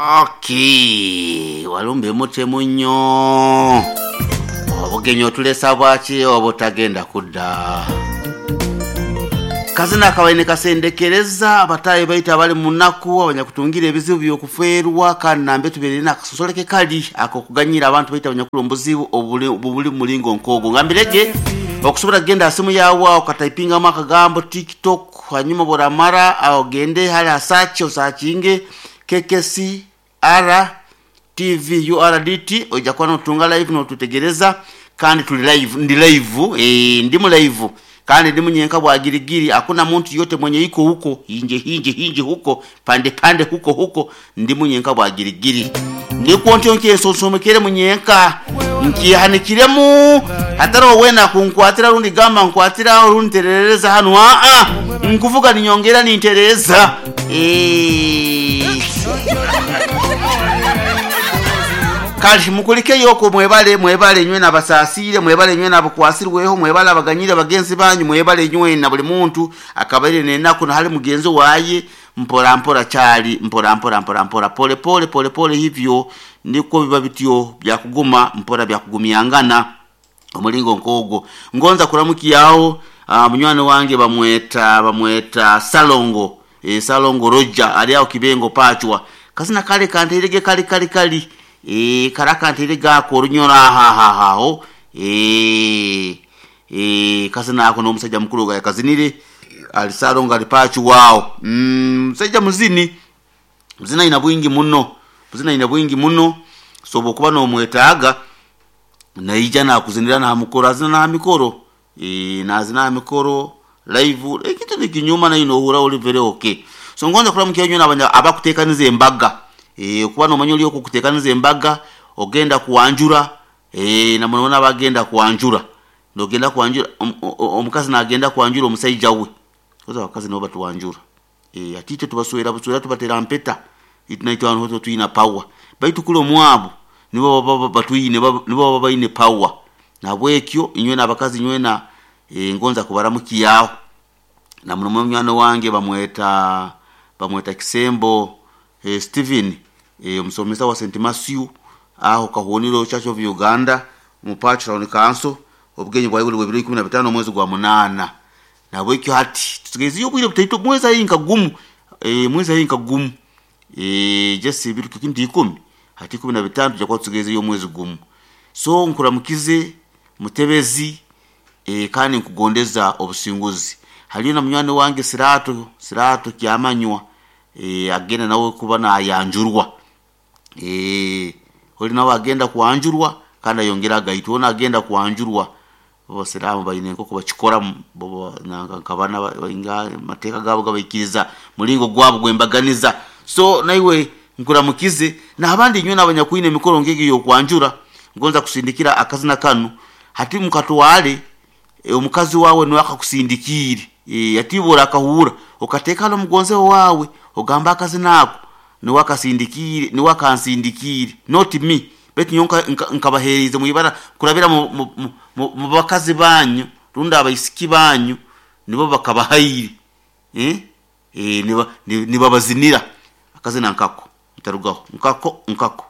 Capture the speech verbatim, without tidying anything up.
Okay, walumbe mutemu nnyo obugenyi otulesa bwaki obutagenda kudda. Kazina akabaine kasendekereza abatayi baitu abali munaku abanyakutungira ebizibu byokufeerwa, kandi nambe tubeere nakasosoleke kali akokuganyira abantu baitu abanyakuli omubuzibu obuli buli mulingo nkogwo. Ngambirege okusobola kugenda ha simu yawe okataipingamu akagambo TikTok, hanyuma bworamara ogende hali ha search osakinge K K C R T V U R D T, oija kuba notunga live notutegereza. Kandi tuli live, ndi live, eh, ndimu live kandi ndimu nyenka bwagirigiri, hakuna muntu yote mwenye iko huko hinje hinje hinje huko pande pande huko huko, ndimu nyenka bwagirigiri, ndikwo ntyo nkyensonsomekere munyenka nkihanikiremu, hatariho wena kunkwatira rundi gamba nkwatira rundi nterereza hanu. Aa, nkuvuga ninyongera nintereza, eh. Kale mukulikeyo mwebale, mwebale nywe nabasasire, mwebale nywe nabukwasirweho, mwebale abaganyire bagenzi banyu, mwebale nywe na buli muntu akabaire nenaku na hali mugenzi waye, mpora mpora chali mpora mpora mpora mpora pole pole pole pole, hivyo ndiko biba bityo byakuguma mpora byakugumiangana omulingo nkogwo. Ngonza kuramukiyaho uh, munywani wange bamweta bamweta Salongo, e, Salongo Roger ali aho Kibengo pachwa kasina kale kanterege kali kali kali, e, kara gako orunyora ahahahaho, e, e, kasina ako n'omusajja mukulu ga yakazinire ali Salongo ali pachu wao, mm, musajja muzini, muzina ina bwingi muno, muzina ina bwingi muno. So bwokuba nomwetaaga naija nakuzinira nahamukoro, azina nahamikoro, e, nazina ahamikoro live, ekintu nikinyuma nayo nohura oli very okay. So ngonza kulamukia nywe nabanya abakutekaniza embaga, e, kuba nomanya oli okukutekaniza embaga ogenda kuwanjura, e, namunona abagenda kuwanjura, nogenda kuwanjura omukazi nagenda kuwanjura omusaija we koza abakazi nabo batuwanjura, e, ati itwe tubaswera buswera tubatera mpeta, itwe hano twina power, baitu kule omwabo nibo baba batwine, nibo baba baine power. Nabwekyo inywe nabakazi nywe na e, ngonza kubaramukiyaho na muno munywani wange bamweta bamweta Kisembo e, Steven, e, omusomesa wa Saint Matthew aho Kahoniro Church of Uganda mu Town Council. Obugenyi bwawe buli bibiri ikumi na bitano omwezi gwa munana. Nabwekyo hati tusigeziyo obwire butaito, mwezi ayi gumu, e, mwezi ayi gumu, e, just biri kintu ikumi hati ikumi na bitano, tujja kuba tusigeziyo omwezi gumu. So nkuramukize mutebezi, e, kandi nkugondeza obusinguzi. Haliyo na munywani wange Sirato, Sirato Kyamanywa, e, agenda nawe kuba nayanjurwa, e, oli nawe agenda kuwanjurwa kandi ayongera agaitwa ona agenda kuwanjurwa. Abasiramu baine enkoko bakikora bo nkabana inga mateeka gabo gabaikiriza mulingo gwabo gwembaganiza. So naiwe nkuramukize n'abandi nywe n'abanyakwine emikoro ngegi yokwanjura. Ngonza kusindikira akazina kanu hati mukatwale, e, omukazi wawe niwe akakusindikire, e, atibora akahura okateeka n'omugonze wawe ogamba akazina ako niwe akasindikire, niwe akansindikire, not me, betu nyo nkabahereze mwibara kurabira mu, mu, mu, mu bakazi banyu rundi abaisiki banyu nibo bakabahaire, eh eh niba nibabazinira akazina nkako ntarugaho nkako nkako.